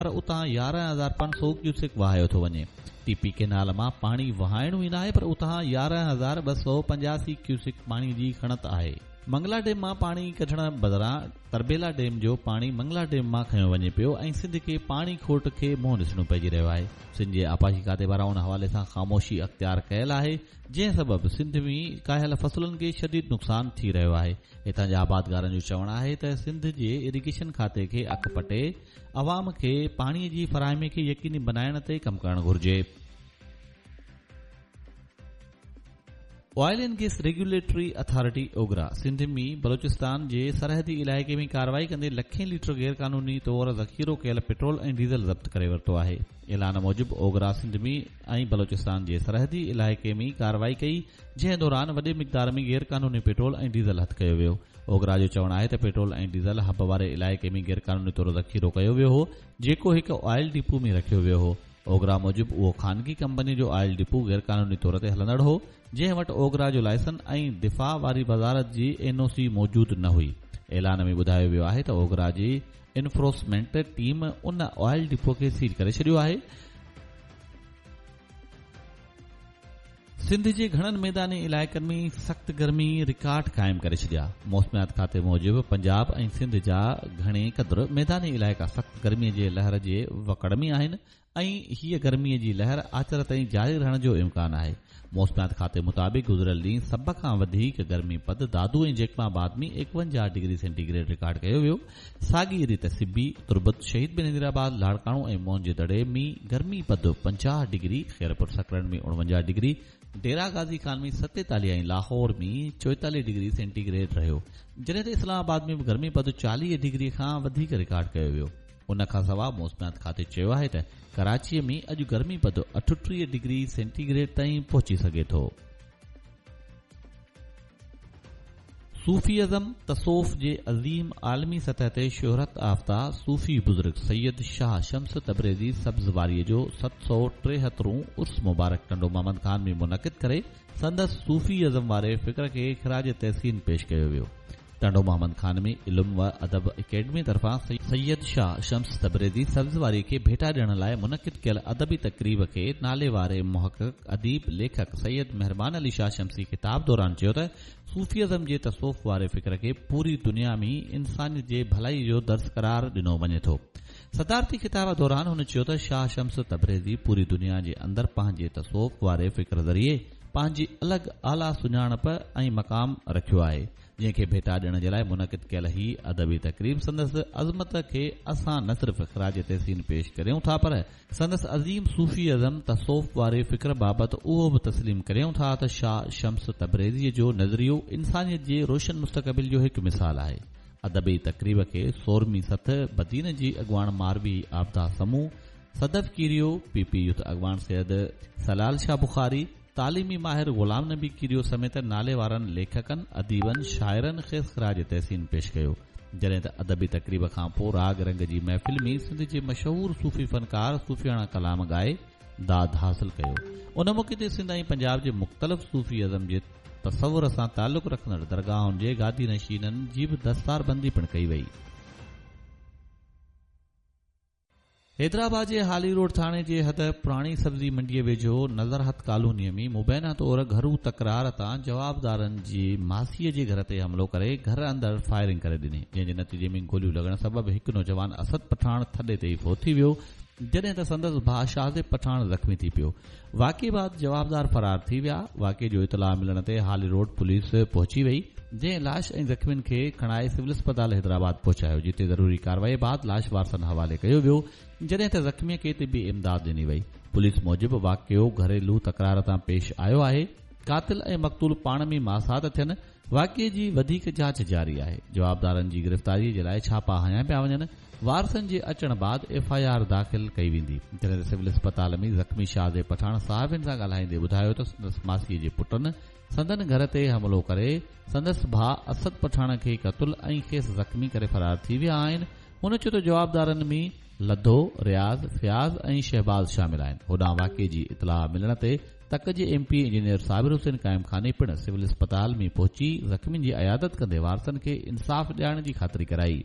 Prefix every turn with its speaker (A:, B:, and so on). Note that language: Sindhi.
A: پر اتان 11,500 ڪيوسڪ وهايو ٿو وڃي. ٽي پي ڪئنال مان پاڻي وهائڻو ئي ناهي پر اتان 11,285 ڪيوسڪ پاڻي جي کڻت آهي. منگلا ڊيم مان پاڻي ڪڍڻ بدران تربيلا ڊيم جو پاڻي منگلا ڊيم مان کنيو وڃي پيو ۽ سنڌ کي پاڻي کوٽ کي منهن ڏسڻو پئجي رهيو آهي. سنڌ جي آبپاشي کاتي پاران ان حوالي سان خاموشي اختيار ڪيل آهي جنهن سبب سنڌ ۾ ڪاهيل فصلن کي شديد نقصان ٿي رهيو آهي. هتان جي آبادگارن جو چوڻ آهي ته سنڌ جي اريگيشن کاتي کي اک پٽي عوام کي پاڻي جي فراهمي کي يقيني بنائڻ تي ڪم ڪرڻ گهرجي. Oil and gas regulatory authority, OGRA, Sindh ۾ Balochistan جي سرحدي علائقي ۾ ڪارروائي ڪندي لکين ليٽر غيرقانوني طور ذخيرو ڪيل پيٽرول ۽ ڊيزل ضبط ڪري ورتو آهي. اعلان موجب اوگرا سنڌ ۾ ۽ بلوچستان جي سرحدي علائقي ۾ ڪارروائي ڪئي جنهن دوران وڏي مقدار ۾ غيرقانوني پيٽرول ۽ ڊيزل هٿ ڪيو ويو. اوگرا جو چوڻ آهي ته پيٽرول ۽ ڊيزل حب واري علائقي ۾ غيرقانوني طور ذخيرو ڪيو ويو هو، جيڪو هڪ آئل ڊپو ۾ رکيو ويو هو. اوگرا موجب اهو خانگي ڪمپني جو آئل ڊپو غيرقانوني طور تي هلندڙ هو، جنهن وٽ اوگرا جو لائسن ۽ دفاع واري وزارت جي اين او سي موجود نه هئي. اعلان ۾ ٻڌايو ويو آهي ته اوگرا جي انفروسمينٽ ٽيم ان آئل ڊپو کي سيل ڪري ڇڏيو آهي. سنڌ جي گهڻن ميداني علائقن ۾ سخت گرمي رڪارڊ قائم ڪري ڇڏيا. موسميات کاتي موجب پنجاب ۽ سنڌ جا گهڻي قدر ميداني علائقا سخت گرمي جي لهر جي وڪڙ ۾ آهن ۽ هيء گرمي جي لهر آچر تائين جاري رهڻ جو امڪان آهي. موسميات کاتي مطابق گذريل ڏينهن سڀ کان وڌيڪ گرمي پد دادو ۽ جيڪب آباد ۾ 51 ڊگري سينٽي گريڊ رڪارڊ ڪيو ويو. ساڳي ريت سبي، تربت، شهيد بينظير آباد، لاڙڪاڻو ۽ موهن جي دڙي ۾ گرمي پد 50 degree, Khairpur Sakrand ۾ 49 degree, Dera Ghazi Khan ۾ 47 ۽ Lahore ۾ 44 degree centigrade گريڊ رهيو، جڏهن ته اسلام آباد ۾ به گرمي پد 40 ڊگري کان وڌيڪ رڪارڊ ڪيو ويو. ان کانسواء موسميات کاتي چيو آهي ته ڪراچي ۾ اڄ گرمي پد 38 ڊگري سينٽي گريڊ تائين پهچي سگهي ٿو. صوفي ازم، تصوف، جي عظيم عالمي سطح تي شهرت آفته صوفي بزرگ سيد شاهه شمس تبريزي سبزواريء جو 773 هون عرس مبارڪ ٽنڊو محمد خان ۾ منعقد ڪري سندس صوفي ازم واري فڪر کي خراج تحسين پيش ڪيو ويو. ٽنڊو محمد خان ۾ علم و ادب اڪيڊمي طرفان سيد شاهه شمس تبريزي سبزواري کي ڀيٽا ڏيڻ لاء منعقد ڪيل ادبي تقريب کي ناليواري محقق، اديب، ليکڪ سيد مهربان علي شاهه شمسي خطاب دوران چيو ته صوفي ازم جي تصوف واري فڪر کي پوري دنيا ۾ انسانيت جي ڀلائي جو درس قرار ڏنو وڃي ٿو. صدارتي خطاب دوران هن چيو ته شاهه شمس تبريزي پوري دنيا جي اندر پنهنجي تصوف واري فڪر ذريعي پنهنجي الڳ اعليٰ سڃاڻپ ۽ مقام رکيو آهي جنهن کي ڀيٽا ڏيڻ جي لاء منعقد ڪيل هي ادبي تقريب سندس عظمت کي اسان نه صرف خراج تحسين پيش ڪريون ٿا پر سندس عظيم صوفي ازم، تصوف، واري فڪر بابت اهو به تسليم ڪريون ٿا ته شاهه شمس تبريزيء جو نظريو انسانيت جي روشن مستقبل جو هڪ مثال آهي. ادبي تقريب کي سورمي سٿ بدين جي اڳواڻ Marvi Abida Samoon, Sadaf Kerio, P P youth اڳواڻ سيد سلال شاهه بخاري، تعليمي ماهر غلام نبي ڪيريو سميت ناليوارن ليکڪن، اديبن، شاعرن کيس خراج تحسين پيش ڪيو. جڏهن ته ادبي تقريب کان پوء راڳ رنگ جي محفل ۾ سنڌ جي مشهور صوفي فنڪار صوفياڻا ڪلام ڳائي داد حاصل ڪيو. ان موقعي تي سنڌ ۽ پنجاب جي مختلف صوفي ازم جي تصور سان تعلق رکندڙ درگاهن جي گادي نشينن جي به دستاربندي پڻ ڪئي وئي. حيدرآباد جي هالي روڊ ٿاڻي جي حد پراڻي سبزي منڊيء ويجهو نظرهت ڪالونيء ۾ مبينا طور گهرو تڪرار تان جوابدارن جي ماسيء جي گهر تي حملو ڪري گهر اندر فائرنگ ڪري ڏني جنهن جي نتيجي ۾ گوليون لڳڻ سبب هڪ نوجوان اسد پٺاڻ ٿڏي تي ئي فوت ٿي ويو جڏهن ته سندس ڀاء شاهزيب پٺاڻ زخمي ٿي پيو واقعي بعد جوابدار فرار ٿي ويا، واقعي جو اطلاع ملڻ تي هالي روڊ پوليس پهچي وئي، جنهن لاش ۽ زخمين کي کڻائي سول اسپتال حيدرآباد پهچايو، جتي ضروري ڪارروائي بعد لاش وارثن حوالي ڪيو ويو، جڏهن ته زخمي کي طبي امداد ڏني وئي. پوليس موجب واقعو گهريلو تڪرار تان پيش آيو آهي، قاتل ۽ مقتول پاڻ ۾ ماسات ٿين، واقعي جي وڌيڪ جاچ جاري آهي، جوابدارن جي گرفتاري جي لاء ڇاپا هنيا پيا وڃن، وارثن جي اچڻ بعد ايف I R داخل ڪئي ويندي. جڏهن ته سول اسپتال ۾ زخمي شاهزيب پٺاڻ صحافين سان ڳالهائيندي ٻڌايو ته سندس ماسيء جي پٽن سندن گهر تي حملو ڪري سندس ڀاء اسد پٺاڻ کي قتل ۽ کيس زخمي ڪري فرار ٿي ويا آهن. هن چيو ته جوابدارن ۾ لڌو، رياض، فياض ۽ شهباز شامل آهن. هوڏانهن واقعي جي اطلاع ملڻ تي تڪ جي M P A engineer Sabir Hussain Qaimkhani پڻ سول اسپتال ۾ پهچي زخمين جي عيادت ڪندي وارثن کي انصاف ڏيارڻ جي خاطري ڪرائي.